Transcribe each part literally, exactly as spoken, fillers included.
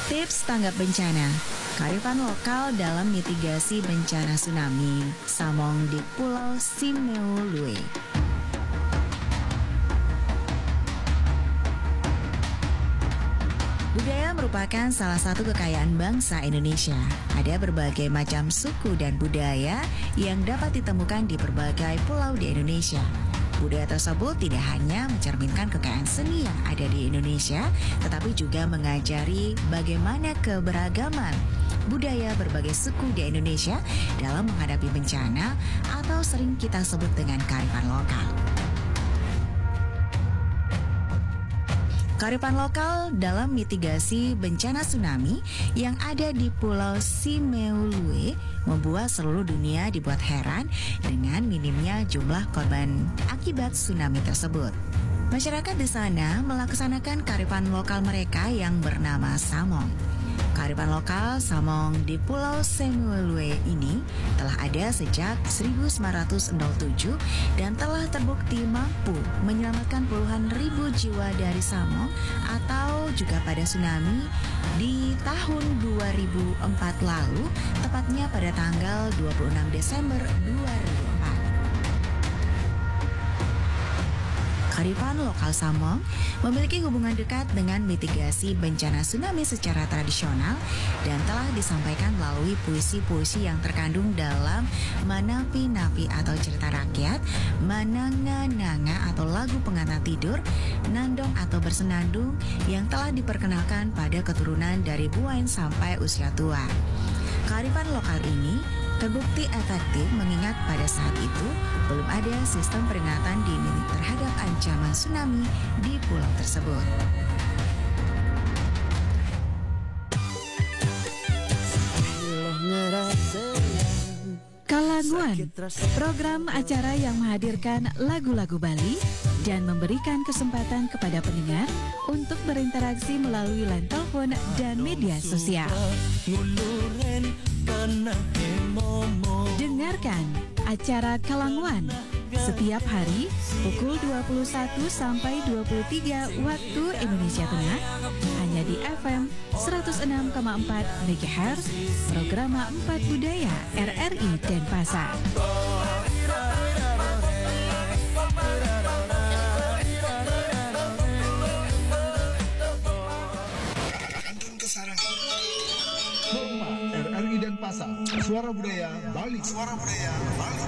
Tips tanggap bencana, kearifan lokal dalam mitigasi bencana tsunami, Samong di Pulau Simeulue. Budaya merupakan salah satu kekayaan bangsa Indonesia. Ada berbagai macam suku dan budaya yang dapat ditemukan di berbagai pulau di Indonesia. Budaya tersebut tidak hanya mencerminkan kekayaan seni yang ada di Indonesia, tetapi juga mengajari bagaimana keberagaman budaya berbagai suku di Indonesia dalam menghadapi bencana atau sering kita sebut dengan kearifan lokal. Kearifan lokal dalam mitigasi bencana tsunami yang ada di Pulau Simeulue membuat seluruh dunia dibuat heran dengan minimnya jumlah korban akibat tsunami tersebut. Masyarakat di sana melaksanakan kearifan lokal mereka yang bernama Samong. Kearifan lokal Samong di Pulau Simeulue ini telah ada sejak seribu sembilan ratus tujuh dan telah terbukti mampu menyelamatkan puluhan ribu jiwa dari Samong atau juga pada tsunami di tahun dua ribu empat lalu, tepatnya pada tanggal dua puluh enam Desember dua ribu empat. Kearifan lokal Samong memiliki hubungan dekat dengan mitigasi bencana tsunami secara tradisional dan telah disampaikan melalui puisi-puisi yang terkandung dalam manapi-napi atau cerita rakyat, mananga-nanga atau lagu pengantar tidur, nandong atau bersenandung yang telah diperkenalkan pada keturunan dari buain sampai usia tua. Kearifan lokal ini terbukti efektif mengingat pada saat itu belum ada sistem peringatan dini terhadap ancaman tsunami di pulau tersebut. Kalanguan, program acara yang menghadirkan lagu-lagu Bali dan memberikan kesempatan kepada pendengar untuk berinteraksi melalui line telepon dan media sosial. Dengarkan acara Kalanguan setiap hari pukul dua puluh satu sampai dua puluh tiga waktu Indonesia Tengah, hanya di F M seratus enam koma empat megahertz, Programa empat Budaya R R I Denpasar. Hormat, R R I Denpasar, suara budaya Bali. Suara budaya Bali.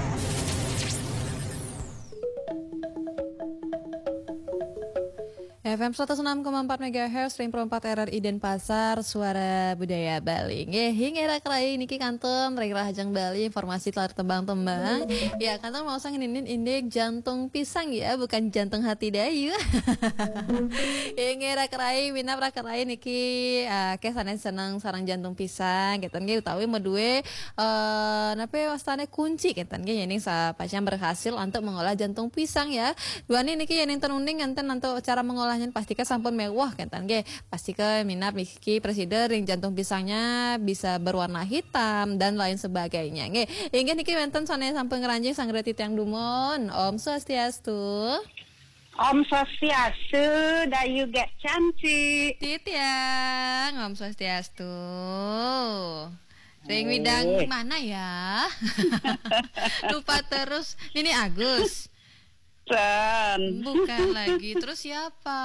F M seratus enam koma empat megahertz, Ring Pro empat R R I Denpasar, suara budaya Bali. Nggih, hingga era kerai niki kantun, Ring Rahajeng Bali, informasi telah tembang-tembang. Ya, kantun mau sang ninin indik jantung pisang ya, bukan jantung hati dayu. Hingga era kerai, minap ra kerai niki, eh, ke sana seneng sarang jantung pisang, gitu nggih, utawi medue, eh, nape wastane kunci, gitu nggih, yening sa-, pacang berhasil untuk mengolah jantung pisang ya. Duani niki yening ten uning enten antuk cara mengolahnya, pastika sampun mewah kenten nggih. Pastika minat niki presida ring jantung pisangnya bisa berwarna hitam dan lain sebagainya nggih. Inggih niki wenten sane sampun ngranjing sang reti tiang dumun. Om Swastiastu. Om Swastiastu, Dayu Gek Cantik. Titiang, Om Swastiastu. Ring widang mana ya? Lupa terus. Nini Agus. San. Bukan lagi. Terus siapa?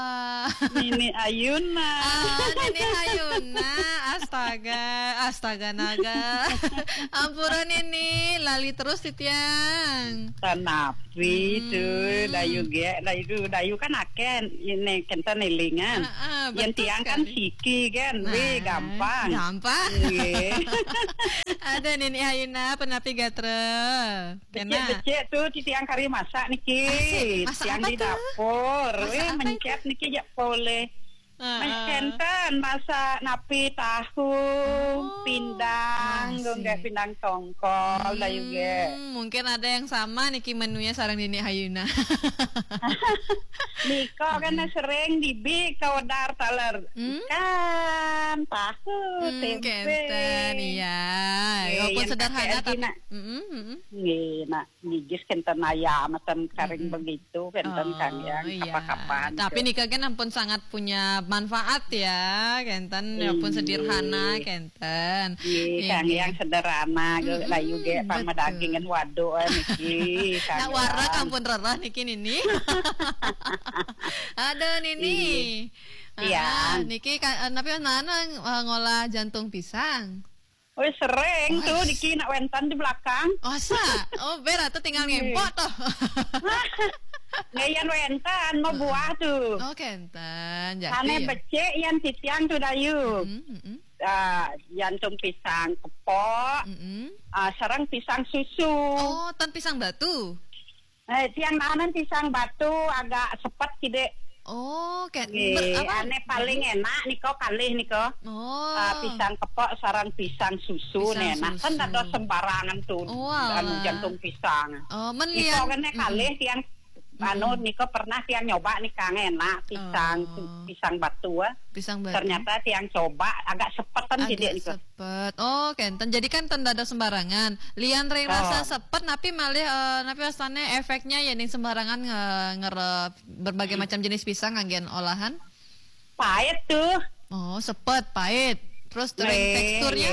Nini Ayuna. Ah, Nini Ayuna. Astaga, astaga naga. Ampura Nini, lali terus titiang. Tanapi tu, Dayu ge, Dayu, Dayu kan aken, ini kenten ilingan. Ah, ah, yang betul tiang kan sekali. Siki kan, wih, nah, gampang. Gampang. Nggih. Ada Nini Ayuna, penapi gatra. Kena. Becik-becik tu, titiang kari masak niki. Asik. Masak tiang apa di tu? Dapur. Masak weh, apa mencet itu? Niki jak poleh. Heeh. Mencenten masak napi tahu, oh, pindang, masih. Gunggah pindang tongkol, hmm, dah juga. Mungkin ada yang sama niki menunya sarang Nini Ayuna. Niko kan sering dibi kawedar taler. Hmm? Ikan, tahu, hmm, tempe. Kenten, iya. Eh, walaupun yang sederhana kakek tapi, nak. Mm-mm, mm-mm. Nggih, nak gigis kenten ayam, ten karing begitu, kenten kan ya, kapan-kapan. Tapi nika kan ampun sangat punya manfaat ya, kenten ya pun sederhana, kenten. Nggih, kang yang sederhana, layu ge pang medagingan waduh niki. Nak warak ampun rerah niki nini. Aduh nini. Iya. Niki napi nana ngolah jantung pisang. Oh, sering tuh niki nak wenten di belakang. Masa? Oh, bera tuh tinggal ngempok tuh. Nggih, yan wenten mau buah tuh. Oh, kenten. Jadi. Ane becik yan titiang tuh dayu. Uh, jantung pisang kepok, uh, sareng pisang susu. Oh, tan pisang batu. Eh, tiang nanan pisang batu agak sepet kide. Oh, kayak ber, apa? Ane paling enak niko kalih niko. Oh. Uh, pisang kepok sarang pisang susu pisang enak. Kan ada sembarangan tuh. Oh, anu jantung pisang. Oh, men niko kan kalih tiang anu niko pernah tiang nyoba nih kang enak pisang oh. Pisang batu. Pisang batu. Ternyata tiang coba agak sepetan agak sih niko. Sepet. Oh, kenten. Jadi kan tenda ada sembarangan. Lian ring oh. Rasa sepet napi malih uh, napi rasanya efeknya ya ning sembarangan nge, ngerep berbagai hmm. Macam jenis pisang anggen olahan. Pahit tuh. Oh, sepet, pahit. Terus ring teksturnya?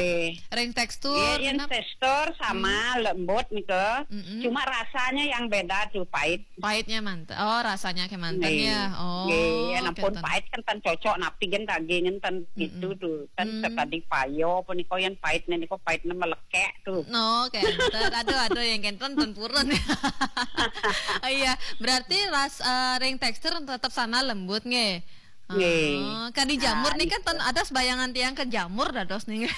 Ring tekstur. Iya, yang tekstur sama hmm. Lembut nih ke. Mm-mm. Cuma rasanya yang beda tuh pahit. Pahitnya mantap. Oh, rasanya kayak mantap ya. Oh. Iya, nampun pahit kan tan cocok napi gen daging kan tan mm-mm. Gitu tuh. Kan mm. Tadi payo apa nih kau yang pahitnya nih kau pahitnya melekek tuh. No, kayak aduh aduh yang kenten tan purun. Iya, berarti ras uh, ring tekstur tetap sana lembut nggih. Nggih. Oh, kadi jamur nah, nih kan ten, ada sebayangan tiang ke jamur dados nih.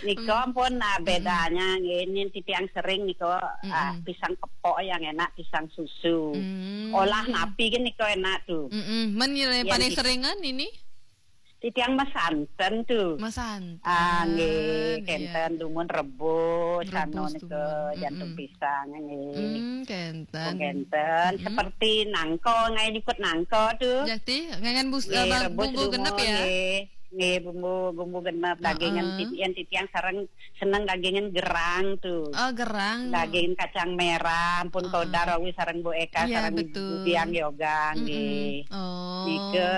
Niko pun nah, bedanya nggih ini titiang sering niko mm -mm. Ah, pisang kepok yang enak pisang susu. Mm. Olah napi kan niko enak tuh. Mm -mm. Men yang paling seringan ini? Titiang masanten tuh. Masanten. Ah, nggih, kenten iya. Dumun rebus, rebus anu nika jantung pisang nggih. Hmm, kenten. Oh, kenten. Hmm. Seperti nangko, ngai nyukut nangko tuh. Jati, ngangan bus, nggih, uh, bumbu genep ya. Nggih, nggih bumbu bumbu genep uh -uh. Dagingan titian titiang sareng seneng dagingan gerang tuh. Oh, gerang. Daging kacang merah, ampun uh -uh. Kodar awi sareng Bu Eka iya, sareng betul. Bu Biang yoga nggih. Mm -hmm. Oh. Nika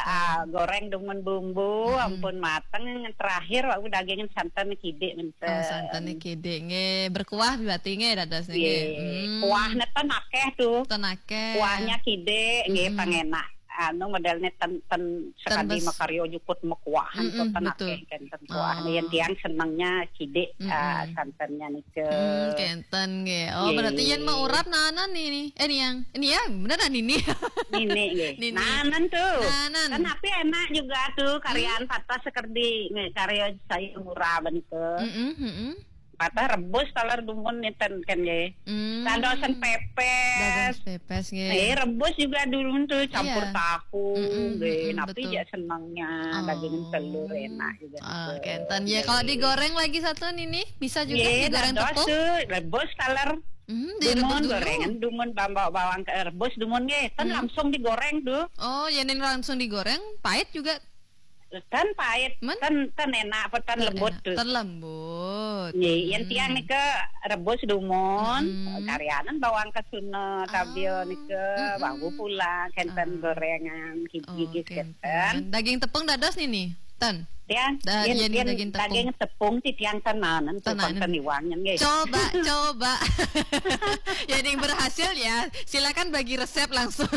ah, goreng dengan bumbu, mm -hmm. Ampun mateng, terakhir wau dagingan santan kidik menten. Oh, santan kidik nggih, berkuah berarti nggih dados nggih. Hmm. Kuah neten akeh tuh. Ten akeh. Kuahnya kidik nggih mm -hmm. Pangenak. Anu modelnya ten ten sekali makaryo jukut mekuahan mm -mm, tuh ten akeh kan ten kuah. Mm -mm. Yang tiang senengnya kidik mm -mm. Uh, santannya nih. Hmm, kenten nggih. Oh, berarti yen mau urap nanan ini. Eh, niang. Ini ya, beneran ini. Nini nggih. Nanan tuh. Nanan. Kan tapi enak juga tuh karian hmm. Patah sekerdi nggih karya saya murah bentuk. Mm -mm, mm -mm. Patah rebus taler dumun niten kan nggih. Hmm. Sandosan pepes. Dados pepes nggih. Eh, rebus juga dumun tuh campur iya. Tahu mm -mm, nggih. Mm -mm, tapi ya senengnya oh. Daging telur enak juga. Oh, kenten. Ya kalau digoreng lagi satu ini bisa juga yeah, digoreng tepung. Rebus taler. Hmm, dumun gorengan, dumun bawang rebus dumun nggih. Kan hmm. Langsung digoreng tuh. Oh, ya ning langsung digoreng, pahit juga. Kan pahit, Men? Kan kan enak apa kan lembut tuh. Kan lembut. Nggih, yang hmm. Tiang nika rebus dumun, hmm. Karianan bawang kesuna, tabio ah. Nika hmm. Bawang pulang, kenten ah. Gorengan, gigi oh, kenten. Daging tepung dados nih nih. Ten. Ya, da, yen, yen, yen daging tepung. Daging tepung ti tiang tenanan tenanan iwangnya nggih. Coba, coba. Ya yang berhasil ya, silakan bagi resep langsung.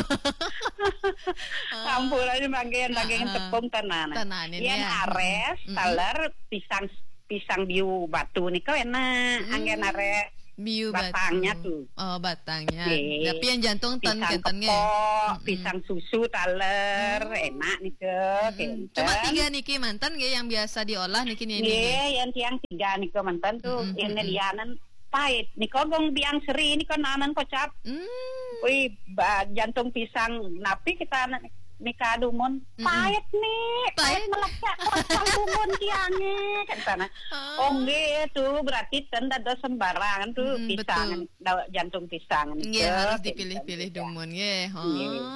Campur aja bagian daging uh, tepung tenanan. Tenanan ya. Yen ares, mm -hmm. Taler, pisang pisang biu batu nika enak, mm -hmm. Anggen ares. Biu batangnya batu. Tuh. Oh, batangnya. Nggih. Tapi yang jantung ten pisang keten kepok, pisang susu taler, hmm. Enak nika. Hmm. Cuma tiga niki mantan nggih yang biasa diolah niki nih. Nggih, yang tiang tiga nika mantan tuh hmm. Ini lianan pahit. Nika gong biang seri nika nanan kocap. Hmm. Wih, jantung pisang napi kita anak Nika dumun, paet nih, paet meleksa kosong dumun tiangnya, kan sana. Oh, nggih, tuh berarti ten dados sembarangan tuh, pisang, jantung pisang. Nggih, harus dipilih-pilih dumun, nggih.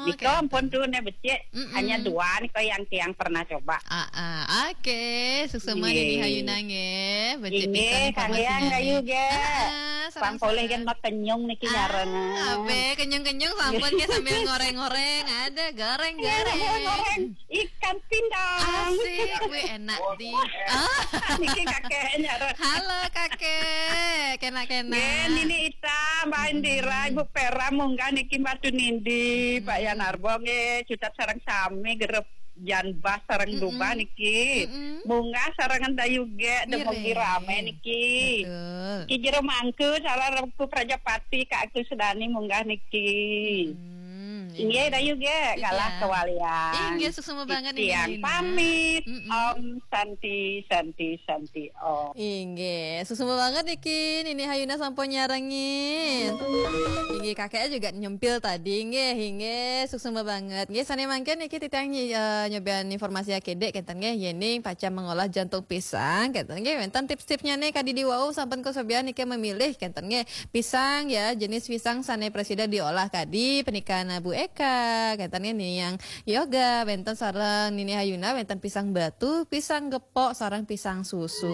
Nika ampun tuh, nih becik, hanya dua nih kok yang tiang pernah coba. Ah, ah. Oke, suksema Nini Hayuna, nggih. Becik pisan informasinya, nggih. Kang Yang Ayu, nggih. Ah, sareng-sareng. Pang polih kan mah kenyung niki nyareng. Abe, kenyung-kenyung sampun, nggih, sambil ngoreng-ngoreng. Ada goreng-goreng. Iya, goreng. Ikan pindang. Asik, wih, enak di. Ah. Niki kakeknya. Halo, Kakek. Kena-kena. Nggih, Nini Ita, Mbak Indira, Ibu Pera, munggah niki Batu Nindi, Pak Yan Arbo, nggih, Cutat sareng sami, gerep Jan Bas sareng Duba niki. Munggah sarengan Dayu ge, demogi rame niki. Betul. Ki Jero Mangku, salah Rengku Prajapati, Kak Agus Dani munggah niki. Hmm, inggih, Dayu ge, galah kewalian. Inggih, suksema banget, Nini Hayuna. Pamit. Om Santi, Santi, Santi, Om. Inggih, suksema banget niki, Nini Hayuna sampun nyarengin. Inggih, kakeknya juga nyempil tadi, nggih, inggih, suksema banget. Nggih, sane mangkin niki titiang nyi-, eh, nyobian informasi akedek, kenten nggih, yening pacang mengolah jantung pisang, kenten nggih, wenten tips-tipsnya nih, kadi di wau sampun kesobian niki memilih, kenten nggih. Pisang ya, jenis pisang sane presida diolah kadi, pernikahan Bu Eka, kenten nggih, nih yang yoga, wenten sareng Nini Hayuna, wenten pisang batu, pisang gepok, sareng pisang susu.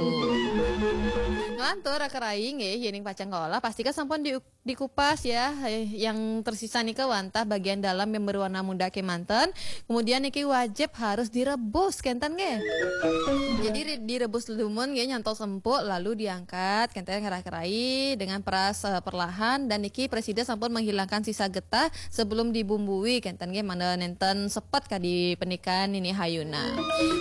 Ngelantur kerai nggih, yening pacang ngolah, pasti kan sampun di, dikupas ya, eh, yang tersisa nika wantah bagian dalam yang berwarna muda kemanten, kemudian niki wajib harus direbus, kenten nggih. Jadi re-, direbus dumun nggih nyantos empuk, lalu diangkat, kenten ngerai-kerai dengan peras, eh, perlahan, dan niki presida sampun menghilangkan sisa getah sebelum dibumbui, kenten nggih, mangda nenten sepet kadi pernikahan Nini Hayuna.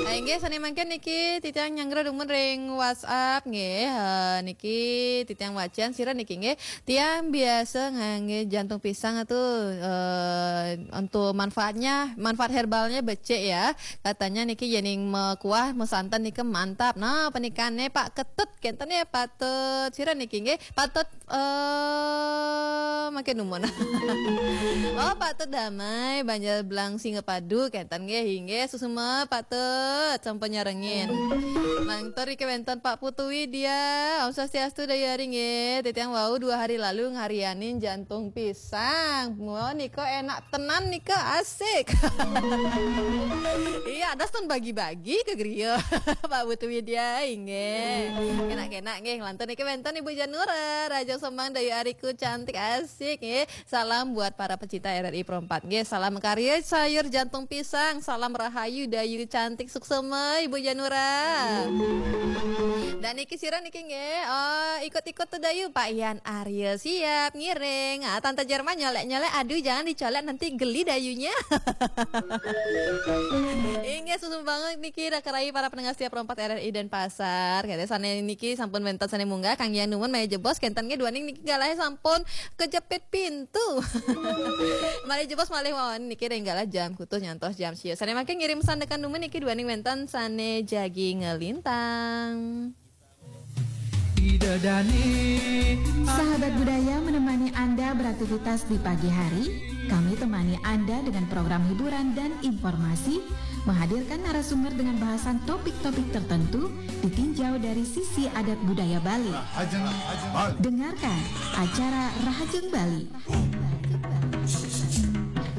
Ah, inggih, sane mangkin niki titiang nyanggra dumun ring WhatsApp nggih. Eh, niki titiang wacan sira niki nggih. Tiang biasa ngangge jantung pisang tuh, eh, untuk manfaatnya, manfaat herbalnya becik ya. Katanya niki yening mekuah, mesanten niki mantap. Nah, pernikahannya Pak Ketut, kenten ya, patut. Sira niki nggih, patut, eh, makin dumun. Oh, patut damai, Banjar Belang Singapadu, kenten nggih, inggih, suksema patut sampun nyarengin. Lantur iki wenten Pak Putu Widya, Om Swastiastu, Dayu Ari nggih. Titiang wau dua hari lalu ngarianin jantung pisang. Wah, nika enak tenan nika, asik. Iya, ada stun bagi-bagi ke griya. Pak Putu Widya, inggih. Kena-kena nggih, lantur niki wenten Ibu Janura, Raja Semang, Dayu Ariku cantik, asik nggih. Salam buat para pecinta R R I Pro empat nggih. Salam karya sayur jantung pisang. Salam rahayu, Dayu cantik, suksema Ibu Janura. Dan niki sira niki nggih. Oh, ikut-ikut tuh Dayu, Pak Yan Arya siap ngiring. Ah, Tante Jerman nyolek-nyolek, aduh, jangan dicolek, nanti geli dayunya. Inggih, suksema banget niki, dah kerai para pendengar setia Pro empat R R I Denpasar. Kata sane niki sampun wenten sane munggah, Kang Yang dumun malih jebos, kenten nggih, duaning niki galahe sampun kejepit pintu. Malih jebos malih mawon niki ring galah jam kutus nyantos jam sia. Sane mangkin ngirim sandekan dumun niki, duaning wenten sane jagi ngelintang. Sahabat Budaya menemani Anda beraktivitas di pagi hari. Kami temani Anda dengan program hiburan dan informasi, menghadirkan narasumber dengan bahasan topik-topik tertentu, ditinjau dari sisi adat budaya Bali. Dengarkan acara Rahajeng Bali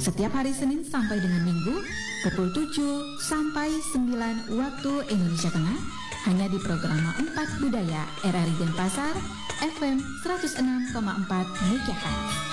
setiap hari Senin sampai dengan Minggu pukul tujuh sampai sembilan waktu Indonesia Tengah, hanya di Programa empat Budaya R R I Denpasar, F M seratus enam koma empat megahertz.